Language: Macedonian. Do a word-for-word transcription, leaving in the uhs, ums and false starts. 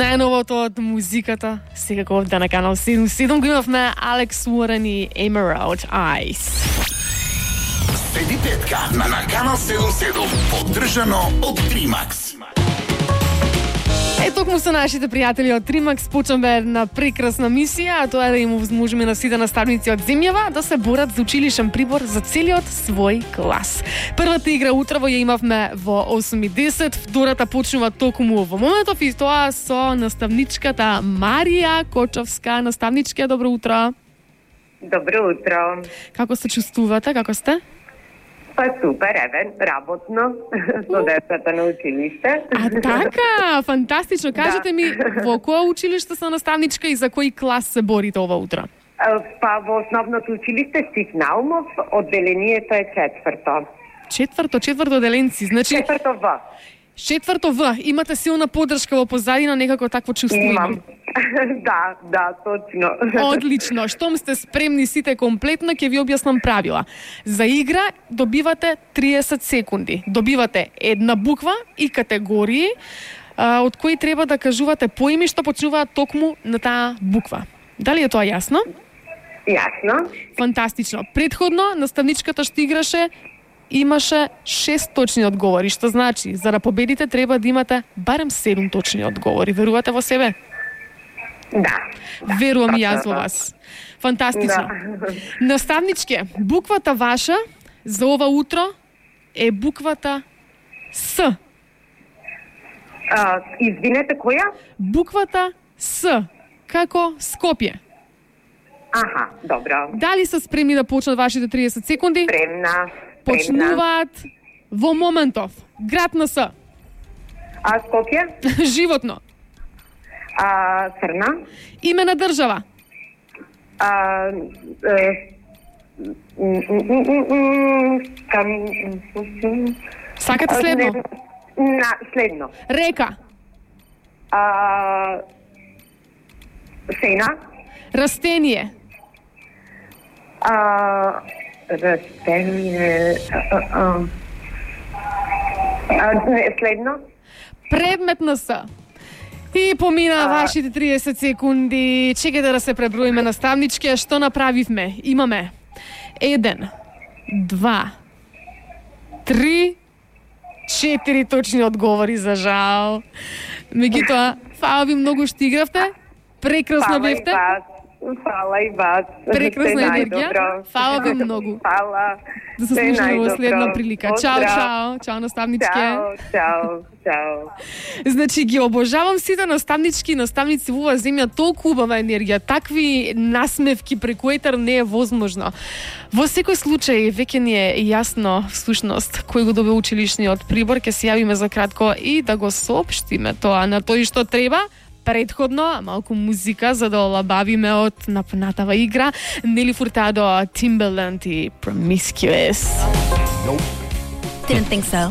Најновото од музиката, секако овде на канал седум седум го имавме Алекс Уорен и Emerald Eyes. Седи петка на на канал седум седум, поддржано од Тримакс. Е, токму со нашите пријатели од Тримакс почнаме една прекрасна мисија, а тоа е да им овозможиме на сите наставници од земјава да се борат за училишен прибор за целиот свој клас. Првата игра утрово ја имавме во осум и десет, втората почнува токму во моментов и тоа со наставничката Марија Кочовска. Наставничка, добро утро. Добро утро. Како се чувствувате? Како сте? Па супер, еве, работно, со децата на училиште. А така, фантастично. Кажете ми, во кое училиште се наставничка и за кој клас се борите ова утро? Па во основното училиште Стив Наумов, одделението е четврто. Четврто, четврто одделенци, значи... Четврто В. Четврто В, имате силна поддршка во позадина, некако такво чувство имам. Да, да, точно. Одлично. Штом сте спремни сите комплетно, ќе ви објаснам правила. За игра добивате триесет секунди. Добивате една буква и категории а, од кои треба да кажувате поими што почнуваат токму на таа буква. Дали е тоа јасно? Јасно. Фантастично. Предходно наставничката што играше имаше шест точни одговори, што значи за да победите треба да имате барем седум точни одговори. Верувате во себе? Да. Верувам и јас во вас. Фантастично. Да. Наставничке, буквата ваша за ова утро е буквата С. А, извинете, која? Буквата С, како Скопје. Аха, добро. Дали се спремни да почнат вашите триесет секунди? Спремна. Почнуваат во моментов. Град на С. А Скопје? Животно. А Црна? Име на држава. А, е, Сакате следно? На, следно. Река. А, Сена. Растение. А, растение. А, а, а, не, следно. Предмет на С. И помина а... вашите триесет секунди. Чекайте да се преброиме наставнички. Што направивме? Имаме еден, два, три, четири точни одговори, за жал. Меѓутоа, фала ви многу што игравте. Прекрасно бевте. Фала и вас. Прекрасна енергија. Фала ви многу. Фала. Да се слушаме во следна прилика. Чао, чао. Чао, наставничке. Чао, чао, чао. Значи, ги обожавам сите наставнички, наставници во оваа земја, толку убава енергија, такви насмевки преку етер не е возможно. Во секој случај, веќе ни е јасно, всушност, кој го добил училишниот прибор, ќе се јавиме за кратко и да го соопштиме тоа на тој што треба. Предходно, малку музика за да олабавиме од напнатава игра. Нели Фуртадо, Timbaland и Promiscuous. Nope. Didn't think so.